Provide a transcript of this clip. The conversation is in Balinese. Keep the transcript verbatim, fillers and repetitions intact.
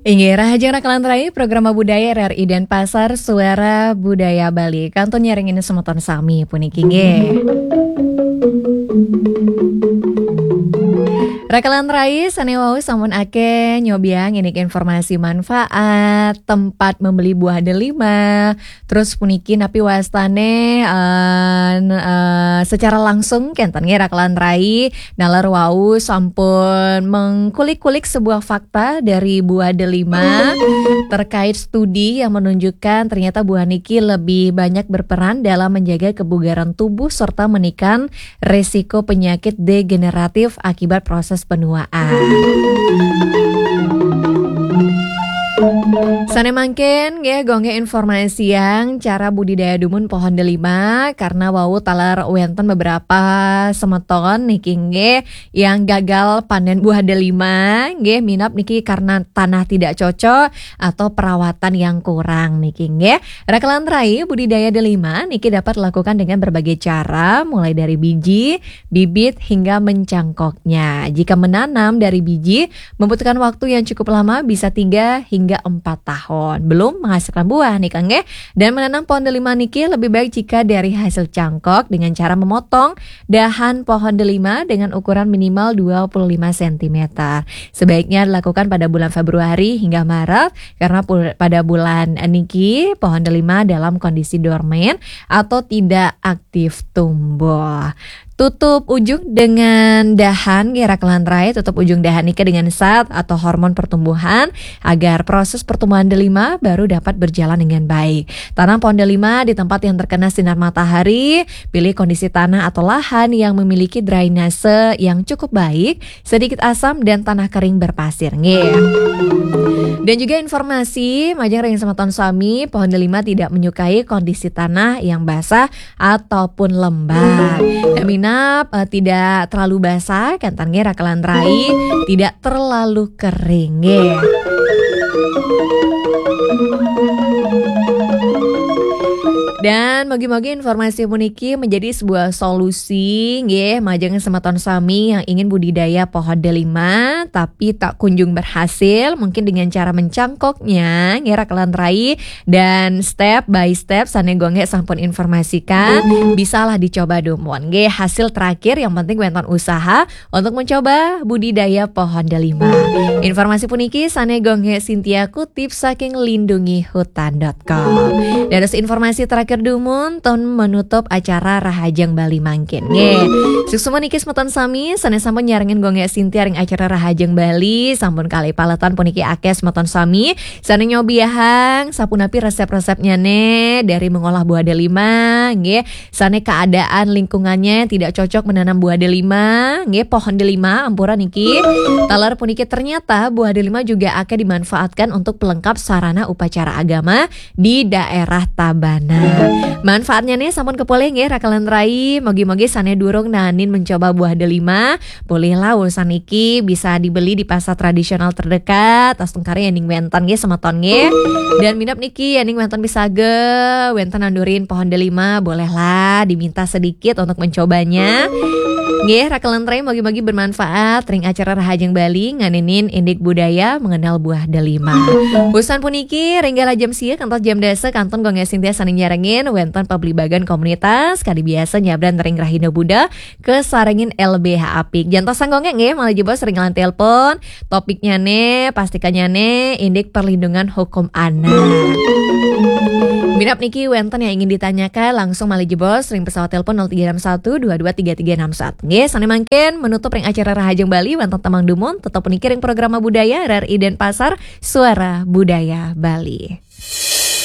Inggih, rahajeng raka lan rai, Program Budaya R R I Denpasar, Suara Budaya Bali. Kantun nyarengin semeton sami puniki, nggih. Raka lan rai, sane wau sampun akeh nyobiang ini informasi manfaat, tempat membeli buah delima, terus puniki napi wastane, eh, n-, eh, secara langsung kenten nggih raka lan rai, naler wau sampun mengkulik-kulik sebuah fakta dari buah delima terkait studi yang menunjukkan ternyata buah niki lebih banyak berperan dalam menjaga kebugaran tubuh serta menekan resiko penyakit degeneratif akibat proses penuaan. Sane mangkin nggih, gonggih informasiang cara budidaya dumun pohon delima, karena wau taler wenten beberapa semeton niki nggih yang gagal panen buah delima, nggih, minab niki karena tanah tidak cocok atau perawatan yang kurang niki nggih. Raka lan rai, budidaya delima niki dapat dilakukan dengan berbagai cara, mulai dari biji, bibit hingga mencangkoknya. Jika menanam dari biji membutuhkan waktu yang cukup lama, bisa tiga hingga empat tahun. Belum menghasilkan buah nih, Kang, ya. Dan menanam pohon delima niki lebih baik jika dari hasil cangkok dengan cara memotong dahan pohon delima dengan ukuran minimal dua puluh lima sentimeter. Sebaiknya dilakukan pada bulan Februari hingga Maret, karena pul-, pada bulan niki pohon delima dalam kondisi dormen atau tidak aktif tumbuh. Tutup ujung dengan dahan, nggih, raka lan rai, tutup ujung dahan niki dengan zat atau hormon pertumbuhan agar proses pertumbuhan delima baru dapat berjalan dengan baik. Tanam pohon delima di tempat yang terkena sinar matahari, pilih kondisi tanah atau lahan yang memiliki drainase yang cukup baik, sedikit asam dan tanah kering berpasir, nggih. Dan juga informasi, majeng ring semeton sami, pohon delima tidak menyukai kondisi tanah yang basah ataupun lembab. Minab, eh, tidak terlalu basah, kenten nggih raka lan rai, tidak terlalu kering nggih. Dan mogi-mogi informasi puniki menjadi sebuah solusi nggih, majeng semeton sami yang ingin budidaya pohon delima tapi tak kunjung berhasil, mungkin dengan cara mencangkoknya nggih raka lan rai, dan step by step sane gonggih sampun informasikan, bisalah dicoba dumun nggih. Hasil terakhir yang penting wenten usaha untuk mencoba budidaya pohon delima. Informasi puniki sane gonggih Cynthia kutip saking lindungi hutan dot com. Dados informasi terakhir dumun, ton menutup acara Rahajeng Bali mangkin. Nggih. Suksma niki semeton sami, sane sampun nyarengin gonggih Cynthia ring acara Rahajeng Bali, sampun kalih paletan puniki akeh semeton sami. Sane nyobiahang, sapunapi resep-resepnyane dari mengolah buah delima, nggih. Sane keadaan lingkungannya tidak cocok menanam buah delima, nggih, pohon delima, ampura niki. Taler puniki ternyata buah delima juga akeh dimanfaatkan untuk pelengkap sarana upacara agama di daerah Tabanan. Manfaatnya nih sampun kepoleh nggih, raka lan rai, mogi-mogi sane durung nanin mencoba buah delima, polihlah urusan niki bisa dibeli di pasar tradisional terdekat, astungkara yening wenten nggih semeton nggih. Dan minab niki yening wenten pisaga, wenten nandurin pohon delima, bolehlah diminta sedikit untuk mencobanya. Nggih, raka lan rai, mogi-mogi bermanfaat ring acara Rahajeng Bali nganinin indik budaya mengenal buah delima. Usan puniki, ring galah jam sia kantos jam dasa kantun gonggih Cynthia sane nyarengin wenten pablibagan komunitas, kadi biasa nyabran ring Rahina Buda, kasarengin L B H apik. Jantos sanggonge nggih, malih jebos ring line telepon. Topiknyane, pastikanyane indik perlindungan hukum anak. Minab niki wenten yang ingin ditanyakan, langsung malih jebos ring pesawat telepon nol tiga enam satu dua dua tiga tiga enam satu. Nggih, sane mangkin menutup ring acara Rahajeng Bali wenten tembang dumun, tetep puniki ring Programa Budaya R R I Denpasar, Suara Budaya Bali.